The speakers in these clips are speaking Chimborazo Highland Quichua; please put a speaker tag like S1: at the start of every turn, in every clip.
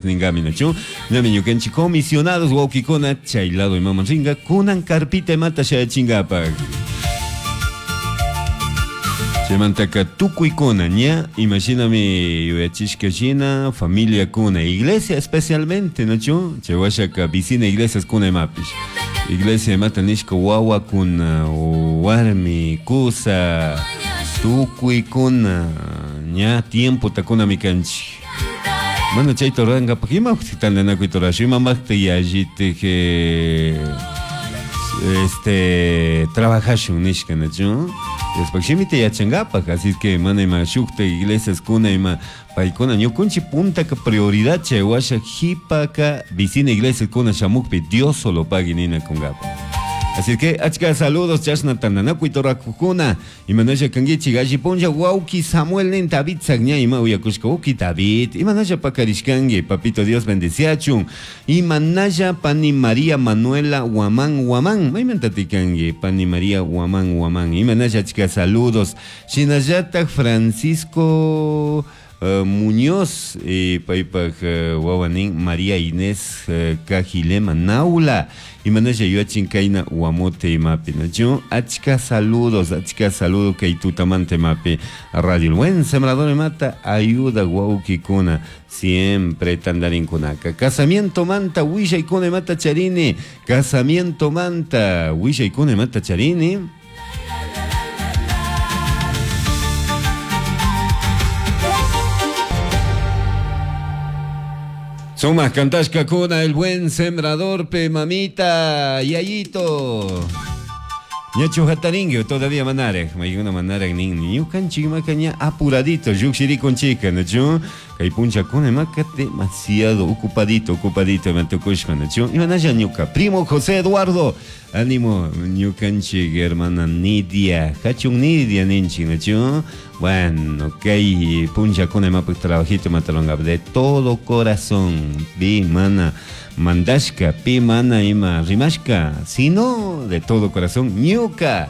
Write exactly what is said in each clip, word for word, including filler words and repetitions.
S1: Ningami nachu ñami ñukanchik comisionados wawkikuna chay lado imaman ringa kunan carpita imata shayachingapak chaymantaka tukuykuna ña imashinami yuyachishka shina familiakuna iglesia especialmente nachu chay washaka vicina iglesias kuna imapish iglesia imata nishka wawakuna warmi kusa tukuykuna ña tiempo takunami kanchik mana chayta rurankapak imapaq tantanakuyta rurashun imapaqta yallitik este trabajashun nishka nachu Diospaq shimita yachankapak así que mana ima shukta iglesias kuna ima paykuna ñukunchik puntaka prioridad chay washa qhipaka vicina iglesias kuna shamukpi Dios solo pagui ninakunkapak. Así que achka saludos chashna tantanakuyta rurakukuna imanasha kankichik alli punlla wawki Samuel nin David ña ima uyakushka wawki David imanasha pakarishkanki papito Dios bendeciachun imanasha pani María Manuela Guamán Guamán maymantati kanki pani María Guamán Guamán imanasha achka saludos shinallatak Francisco Uh, Muñoz eh, paypak uh, wawanin María Inés uh, Cajilema Naula imanasha yuachin kayna Guamote imapi nachu achka saludos achka saludo kay tutamanta imapi Radio El Buen Sembrador imata ayuda wawkikuna siempre tandarinkunaka casamiento manta willaykuna imata charini casamiento manta willaykuna imata charini. Sumas cantashka kuna el buen sembrador pe mamita yayito. Ñachu hataringui todavía manaraj maykuna manaraj nin ñukanchik imaka ña apuradito lluqshirikunchika nachu kay punchakuna imaka demasiado ocupadito ocupadito ima tukushpa nachu imanalla ñuka primo José Eduardo ánimo ñukanchik hermana Nidia hachun Nidia ninchik nachu bueno kay punchakuna imapak trabajito imata de todo corazón pi mana mandashka pi mana ima rimashka sino de todo corazón ñuka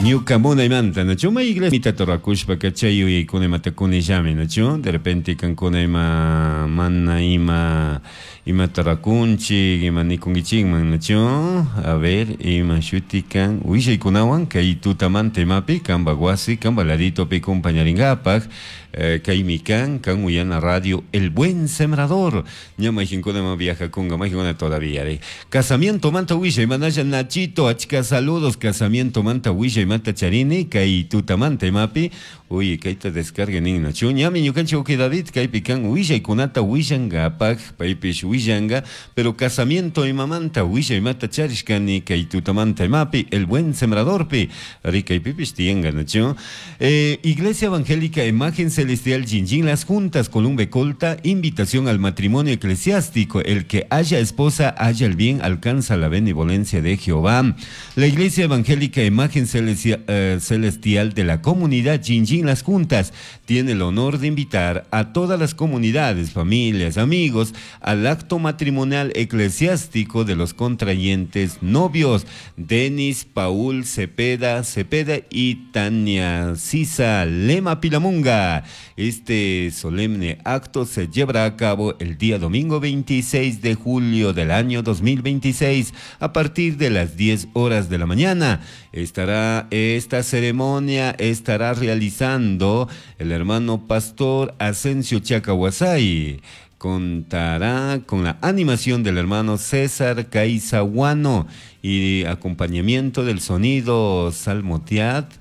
S1: ñuka munaymanta nachu may iglesia mitata rurakushpaka chay yuyaykuna imata kunillami nachu de repente kankuna ima mana ima imata rakunchik ima nikunkichikman nachu a ver ima shuti kan willaykunawan kay tutamanta imapi kanpak wasi kanpak laditopi compañarinkapak eh, kaymi kan kan uyana radio El Buen Sembrador ña mayqinkuna ima viajakunka mayqinkuna todavía de casamiento manta willay manalla Nachito achka saludos casamiento manta willay manta charini kay tutamanta imapi uy kayta descarga nin nachu ñami ñukanchik uki David kaypi kan willaykunata willankapak paypish willanga pero casamiento imamanta willay mata charishkani kay tutamanta imapi El Buen Sembradorpi ari kaypipish tiyanka nachu eh, Iglesia Evangélica Imagen Celestial Jinjin Las Juntas Columbe Colta invitación al matrimonio eclesiástico el que haya esposa haya el bien alcanza la benevolencia de Jehová. La Iglesia Evangélica Imagen Celestial, eh, Celestial de la comunidad Jinjin Las Juntas tiene el honor de invitar a todas las comunidades, familias, amigos al acto matrimonial eclesiástico de los contrayentes novios Denis Paul Cepeda Cepeda y Tania Sisa Lema Pilamunga. Este solemne acto se llevará a cabo el día domingo veintiséis de julio del año dos mil veintiséis a partir de las diez horas de la mañana. Estará esta ceremonia estará realizando el hermano pastor Asensio Chacahuasay. Contará con la animación del hermano César Caizahuano y acompañamiento del sonido Salmotiat.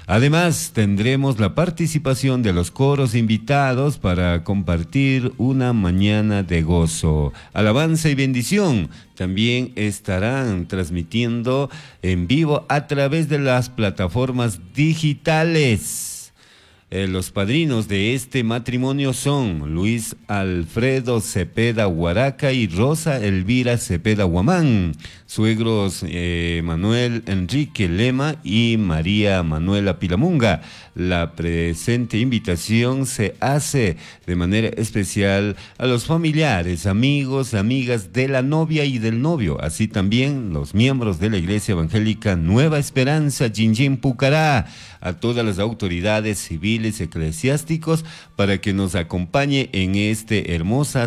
S1: Además, tendremos la participación de los coros invitados para compartir una mañana de gozo, alabanza y bendición. También estarán transmitiendo en vivo a través de las plataformas digitales. Eh, los padrinos de este matrimonio son Luis Alfredo Cepeda Huaraca y Rosa Elvira Cepeda Guamán, suegros eh, Manuel Enrique Lema y María Manuela Pilamunga. La presente invitación se hace de manera especial a los familiares, amigos, amigas de la novia y del novio, así también los miembros de la Iglesia Evangélica Nueva Esperanza, Jinjin Pucará, a todas las autoridades civiles Civiles Eclesiásticos para que nos acompañe en este hermosa